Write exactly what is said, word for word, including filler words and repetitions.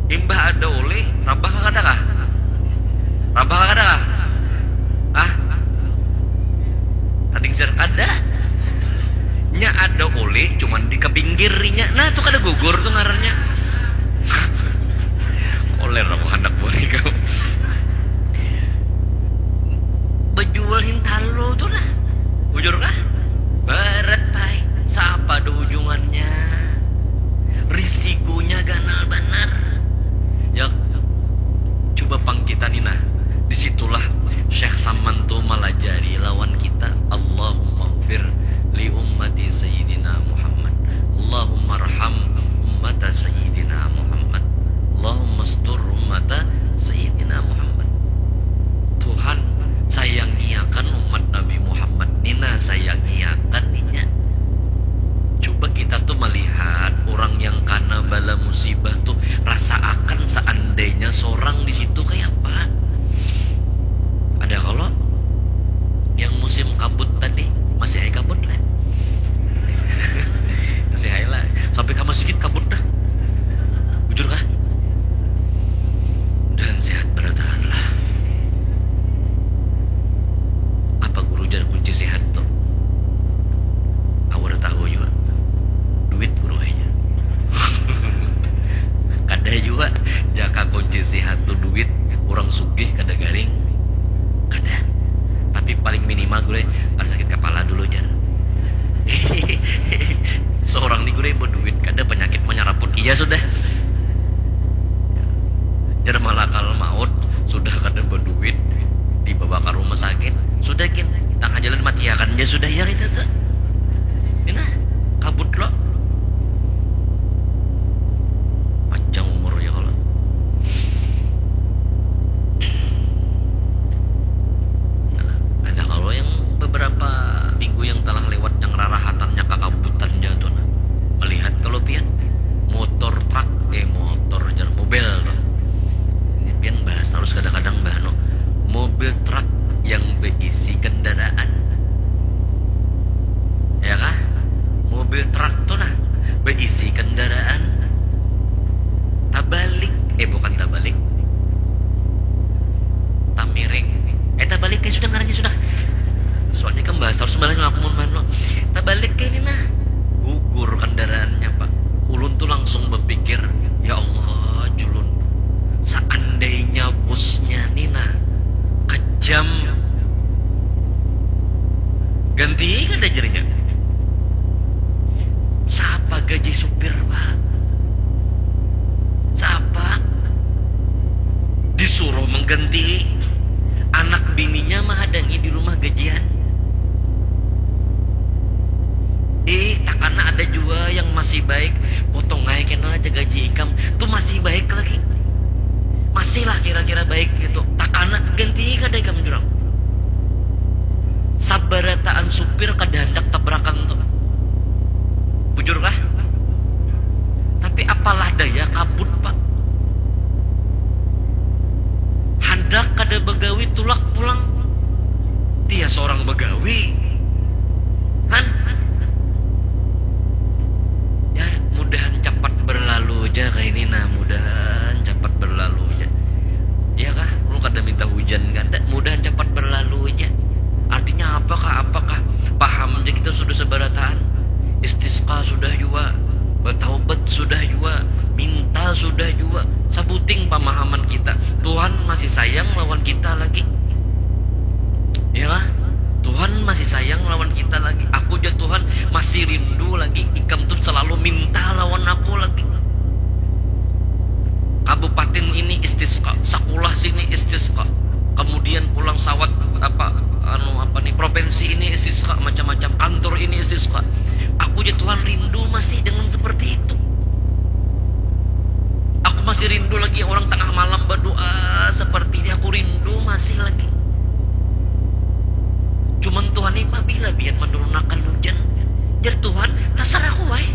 Imbah ada uli, rabah kada kah? Rabah kada kah? Ah? Tading sir kada. Nya ada uli, cuman di kapinggirnya. Nah, tu kada gugur tu ngarannya. Oleh aku handak balik kau. Bejual hintalu tu nah. Bujur kah? Berat pai. Sapa do ujungannya? Risikonya ganal banar. Ya, coba pang kita ni nah. Disitulah Syekh Saman tu malajari lawan kita. Allahumma gfir li ummati Sayyidina Muhammad. Allahumma arham ummata Sayyidina Muhammad. Allahumma astur ummata Sayyidina Muhammad. Tuhan, sayangiakan umat Nabi Muhammad ni nah, sayangiakan inya. Coba kita tu malihat orang yang kana bala musibah tu, rasaakan saandainya sorang di situ kaya apa. Ada kalo yang musim kabut tadi, masih ai kabut lah. Masih ai lah. Sampai ka masjid kabut dah. Bujur kah? Mudahan sehat barataan lah. Apa guru jar kunci sehat tu? Aku kada tahu jua. Duit guru ai jar. Kada jua. Jaka kunci sehat tu duit, urang sugih kada garing. Kada. Tapi paling minimal guru ai kada sakit kapala dulu jar. Seorang ni guru ai baduit, kada panyakit manyaraput iya sudah. Jar malakal maut, sudah kada baduit, dibawa ka rumah sakit, sudah gin, tangah jalan matiakan ja sudah, ya itu tu. Ini nah, kabut lo. Panjang umurnya kalo. Nah, ada kalo yang beberapa minggu yang telah lewat yang rarahatannya kakabutannya tu nah. Melihat kalo pian motor truk, eh, motor jar, mobil tu. Ini pian bahas terus kadang-kadang bah anu. Mobil truk yang beisi kendaraan. Ya kah? Mobil truk tu nah, beisi kendaraan. Tabalik, eh, bukan tabalik. Tamiring. Eh, tabalik ai sudah ngarannya sudah. Soalnya kan bahas terus malah aku mun mano. Tabalik ai ini nah. Gugur kendaraannya, Pak. Ulun tu langsung bapikir, ya Allah, julun. Saandainya busnya ni nah kejam, ganti kada jarinya. Sapa gaji supir, Pak? Sapa? Disuruh mengganti, anak bininya mahadangi di rumah gajian. Ih, takana ada jua yang masih baik, potong ai kena aja gaji ikam, tu masih baik lagi. Masihlah kira-kira baik gitu. Takana ganti kada ikam jurang. Sabarataan supir kada handak tabrakan tu. Bujur kah? Tapi apalah daya kabut, Pak. Handak kada bagawi tulak pulang. Tias orang bagawi. Han? Ya, mudahan capat berlalu aja kayak ini nah, mudahan capat berlalu aja. Iya kah? Lu kada minta hujan kan? Mudahan capat berlalu aja. Artinya apakah, apakah? Paham aja kita sudah seberataan. Istisqa sudah juga, bertaubat sudah juga, minta sudah juga. Sabuting pemahaman kita. Tuhan masih sayang lawan kita lagi. Iyalah, Tuhan masih sayang lawan kita lagi. Aku aja Tuhan masih rindu lagi. Ikam tuh selalu minta lawan aku lagi. Kabupaten ini istisqa, sakulah sini istisqa. Kemudian pulang sawat apa, anu apa nih, provinsi ini istisqa, macam-macam kantor ini istisqa. Aku aja Tuhan rindu masih dengan seperti itu. Aku masih rindu lagi orang tengah malam berdoa seperti ini. Aku rindu masih lagi. Cuman Tuhan ini pabila biar menurunakan hujan? Jar Tuhan, terserah aku wae.